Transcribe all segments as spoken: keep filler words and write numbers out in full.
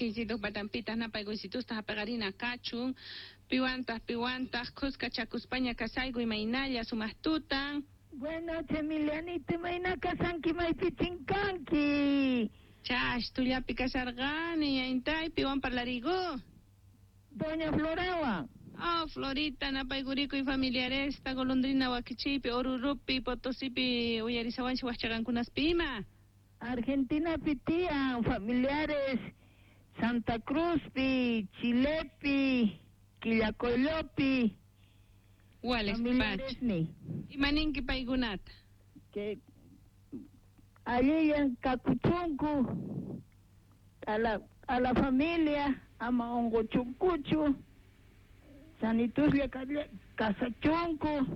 Takiysituq patanpitaq napaykuysitusta hapaqarina kachun. Piwantaq piwantaq khuskachakuspaña kasayku imaynalla sumaq tutan. Buenas noches, Emilianita, imayna kasanki maypi chinkanki. Chash, tullapi kasarqani, ñaintay piwan parlariyku. Doña Florawan. Oh, Florita, napaykuriku familiaresta, golondrina wakichiypi, Orurupi, Potosipi, uyarisawanchik waqchaqankunaspi ima. Argentinapi tiyan familiares Santa Cruzpi, Chilepi, Quillacollopi. Wales Familiaresni. Imaninki paykunata? Que allillan kakuchunku a la, a la familia, ama unquchunkuchu, sanituslla kasachunku.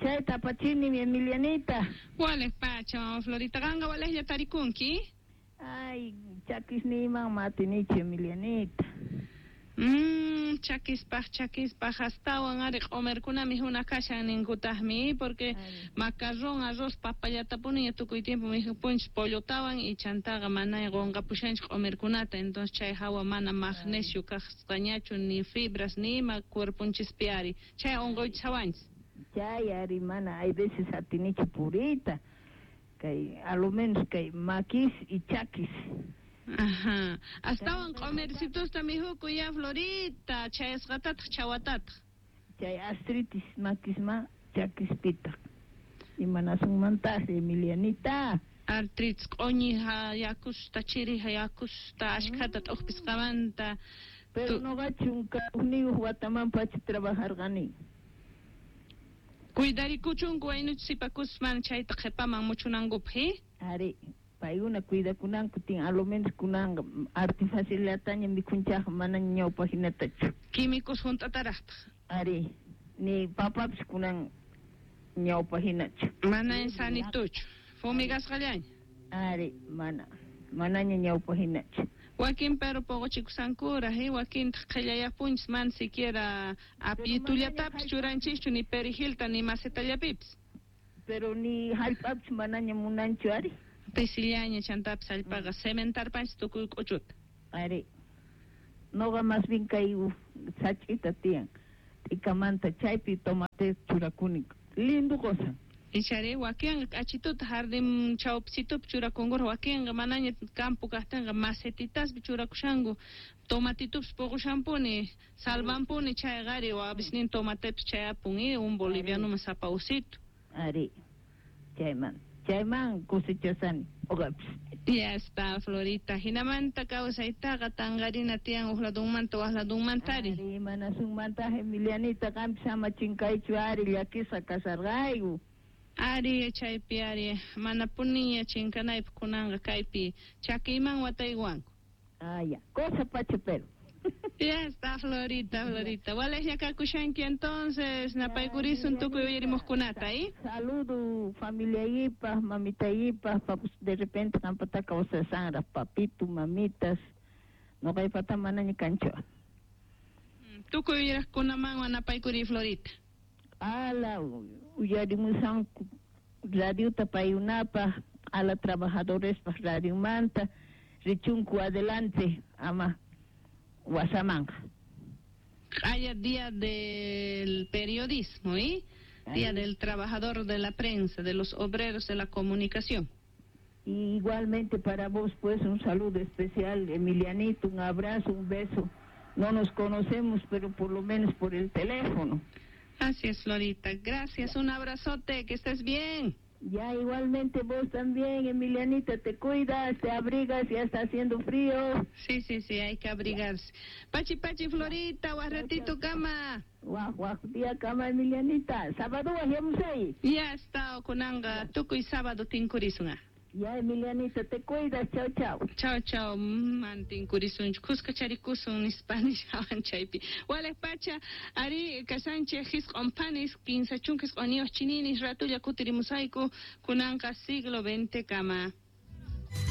Chayta apachini mi Emilianita. Wales pacha, mama Florita, qanqa walejlla tarikunki? Ay, chakisniyman matinichu Emilianita. Mmm, chakispaj, chakispaj, astawan ari q'umirkunami huna kashan ninkutaqmi, porque macarrón, arroz, papallatapuni tukuy tiempo mikhupunchis pollotawan y chantaqa mana qunqapushanchik q'umirkunata, entonces chay hawa mana magnesio kasqañachu ni fibras ni ima cuerponchispi ari, chay unquychawanchis. Chay ari mana, hay veces atinichu puriyta, kay a lo menos kay makis y chakis. Ajá. Astawan q'umircitusta mihuku ya Florita, chayasqatataq chawatataq. Chay artritis makisma chakispitaq. Imanasunmantaq Emilianita? Artritis q'uñi yakusta chiri yakusta ashkhata t'uqpisqamanta. Pero noqa chunka hukniyuq wataman pacha trabajarqani. Cuidarikuchunku waynuch sipakusman chayta qhipaman muchunankupaq, eh? Ari. Paykuna cuidakunanku tin a lo menos kunanqa artifacilataña mikhunchaqqa mana ñawpaq hinatachu. Químicos hunt'ataraqtaq. Ari, ni papapis kunan ñawpaq hinachu. Mana sanituchu, fumigasqallaña. Ari, mana, manaña ñawpaq hinachu. Wakin pero poqochikusankuraq, eh, wakintaq qhillayapunchis mana siquiera apitullatapis churanchischu ni perejilta ni macetallapipis. Pero ni hallp'apis manaña munanchu ari. Pisillaña chantapis hallp'aqa cementarpanchis tukuy k'uchuta. Ari, noqa más bien kay sach'ita tiyan, t'ikamanta chaypi tomate churakuni, lindo cosa. Ichari wakinqa k'achituta jardín chawpisitupi churakunkuraq, wakinqa manaña campo kaqtinqa macetitaspi churakushanku, tomatitupis puqushanpuni, salvanpuni chayqa ari, wapisnin tomatepis chayapun, eh, un bolivianoman sapa usito. Ari, chayman. Chayman cosechasani, uqapis. Ya está, Florita. Hinamanta kawsaytaqa tanqarina tiyan uq ladunmanta waq ladunmantari. Ari, manasunmantaq Emilianita, qampis ama chinkaychu ari, llakisqa kasarqayku. Ari, chaypi ari, manapuniña chinkanaypaq kunanqa kaypi chakiyman wataywanku. Ah, ya, cosa pacha pero. Ya está, Florita, Florita. Walejlla kakushanki entonces, napaykurisun tukuy uyarimuqkunata, ¿eh? Saludo familiayipaq, mamitayipaq, papus de repente qampata kawsasanraq, papito, mamitas, noqaypata manaña kanchu. Tukuy uyariqkunamanwan napaykuri, Florita. Ala, uyarimusanku radiota payunapaq, ala trabajadorespaq radiomanta, richunku adelante, ama wasamanqa. Haya día del periodismo, ¿eh? Día del trabajador de la prensa, de los obreros de la comunicación. Y igualmente para vos, pues, un saludo especial, Emilianito, un abrazo, un beso. No nos conocemos, pero por lo menos por el teléfono. Así es, Florita. Gracias, un abrazote, que estés bien. Ya, igualmente vos también, Emilianita, te cuidas, te abrigas, ya está haciendo frío. Sí, sí, sí, hay que abrigarse. Pachi, pachi, Florita, guarratito, cama. Guau, guau, día cama, Emilianita. Sábado, guajemos ahí. Ya está, okunanga, tukuy sábado tinkurisunga. Ya, Emilianita, te cuidas, chao, chao. Chao, chao, man tinkurisunchu, kuska charikusun nispa nishawan chaypi. Wales pacha, ari kasanche hisq'on panis, kinsa chunka isq'unniyuq chininis, ratulla kutirimusayku, kunanqa siglo veinte kama.